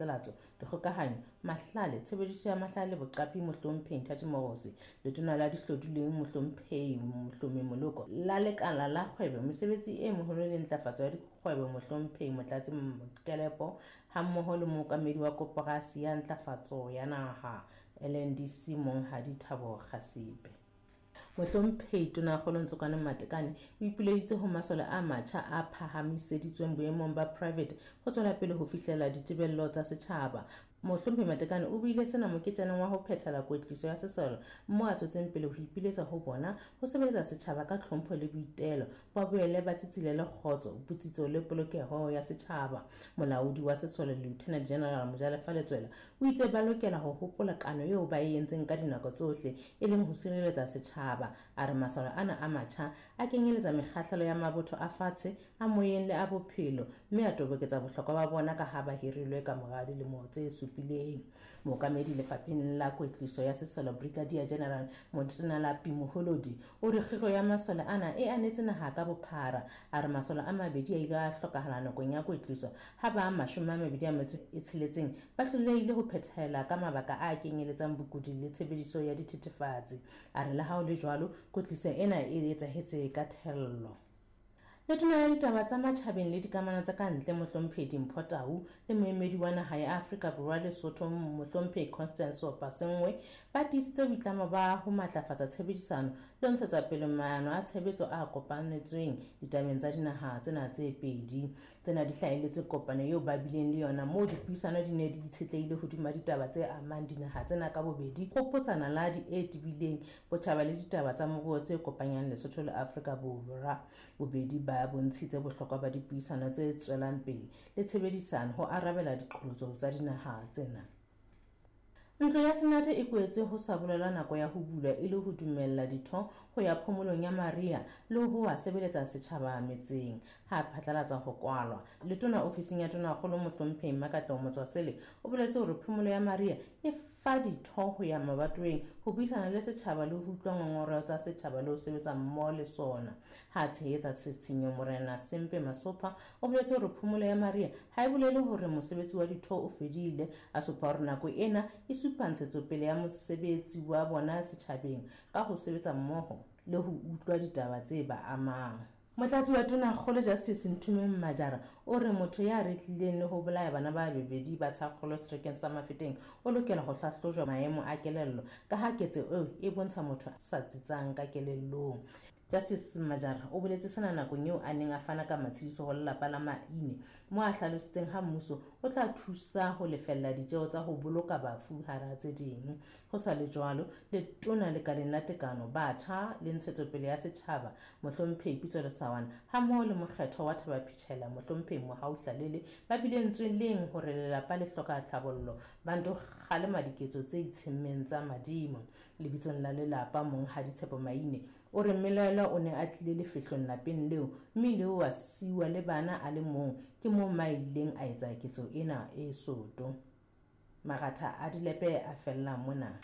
Phatlalatso, Dikgokahanyo, Mahlale, Tshebediso ya Mahlale le Boqapi Mohlomphehi Nthati Mogotsi, Letona la Dihlodilweng Mohlomphehi Mohlomi Moloko, la Lekala la Kgwebo, Mesebetsi e Meholo le Ntlafatso ya Dikgwebo Mohlomphehi Motlatsi Mokelepo hammoho le Mookamedi wa Koporasi ya Ntlafatso ya Naha, LNDC, Monghadi Thabo Kgasipe. Mohlomphehi Tonakgolo Ntsokane Matekane o ipileditse ho masole a matjha a phahamiseditsweng boemong ba private ho tswela pele ho fihlela ditebello tsa setjhaba. Mohlomphehi Matekane o buile sena moketjaneng wa ho phethela kwetliso ya sesole moo a tswetseng pele ho ipiletsa ho bona ho sebeletsa setjhaba ka tlhompho le boitelo, ba boele ba tsitsilele kgotso, botsitso le polokeho ya setjhaba. Molaodi wa sesole Lieutenant General Mojalefa Letswela o itse ba lokela ho hopola kano eo ba e entseng ka dinako tsohle, e leng ho sireletsa setjhaba. A re masole ana a matjha a kenyeletsa mekgahlelo ya mabotho a fatshe, a moyeng le a bophelo, mme a toboketsa bohlokwa ba bona ka ha ba hirilwe ka mora dilemo tse supileng. Mookamedi lefapheng la kwetliso ya sesole Brigadier General Motenalapi Moholodi o re kgiro ya masole ana e anetse naha ka bophara. A re masole a mabedi a ile a hlokahala nakong ya kwetliso ha ba 26 ba hlolehile ho phethela ka mabaka a kenyeletsang bokudi le tshebediso ya dithethefatsi. A re le ha ho le jwalo, kwetliso ena e etsahetse ka thello. Letona la ditaba tsa matjhabeng le dikamano tsa ka ntle Mohlomphehi Dimpho Tau le moemedi wa naha ya Afrika Borwa Lesotho Mohlomphehi Constance Opa-Sengwe ba tiisitse boitlamo ba ho matlafatsa tshebedisano le ho ntshetsa pele maano a tshebetso a kopanetsweng ditabeng tsa dinaha tsena tse pedi. Tsena di hlahelletse kopano eo ba bileng le yona moo dipuisano di ne di itshetlehile hodima ditaba tse amang dinaha tsena ka bobedi, kgopotsana ladi e tebileng, botjhaba le ditaba tsa moruo tse kopanyang Lesotho le Afrika Borwa. Bobedi ba bontshitse bohlokwa ba dipuisano tse tswelang pele le tshebedisano ho arabela diqholotso tsa dinaha tsena. Ntlo ya Senate e kwetse ho sa bolelwa nako ya ho bulwa e le ho dumella ditho ho ya phomolong ya mariha le ho wa sebeletsa setjhaba metseng. Ha phatlalatsa ho kwalwa, letona ofising ya Tonakgolo Mohlomphehi Mmakatleho Motswasele o boletse hore phomolo ya mariha e fa ditho ho ya mabatoweng ho buisana le setjhaba le ho utlwa ngongoreho tsa setjhaba le ho sebetsa mmoho le sona. Ha tshehetsa tshitshinyo Morena Sempe Masopha o boletse hore phomolo ya mariha ha e bolele hore mosebetsi wa ditho o fedile, a supa hore nako ena e supa ntshetsopele ya mosebetsi wa bona setjhabeng ka ho sebetsa mmoho le ho utlwa ditaba tse ba amang. Motlatsi wa Tonakgolo Justice Nthumeng Majara o re motho ya retlileng le ho bolaya bana ba bebedi ba Tshakgolo seterekeng sa Mafeteng o lokela ho hlahlojwa maemo a kelello ka ha ketso eo e bontsha motho a sa tsitsang ka kelellong. Justice Majara o boletse sena nakong eo a neng a fana ka matshediso ho lelapa la Maine mo a hlalositseng ha mmuso o tla thusa ho lefella ditjeo tsa ho boloka bafu hara tse ding. Ho sa le jwalo, letona lekaleng la tekano, batjha le ntshetsopele ya setjhaba Mohlomphehi Pitso Lesawana hammoho le mokgethwa wa Thaba-Phichela Mohlomphehi Mohau Hlalele ba bile ntsweleng hore lelapa le hloka tlhabollo ba nto kgalema diketso tse itshemmeng tsa madimo. Lebitsong la lelapa Monghadi Tshepo Maine o re mmelaelwa o ne a tlile lefehlong lapeng leo mme ile wa siwa le bana a le mong, ke moo ma ileng a etsa ketso ena e soto. Maratha a dilepe a fella mona.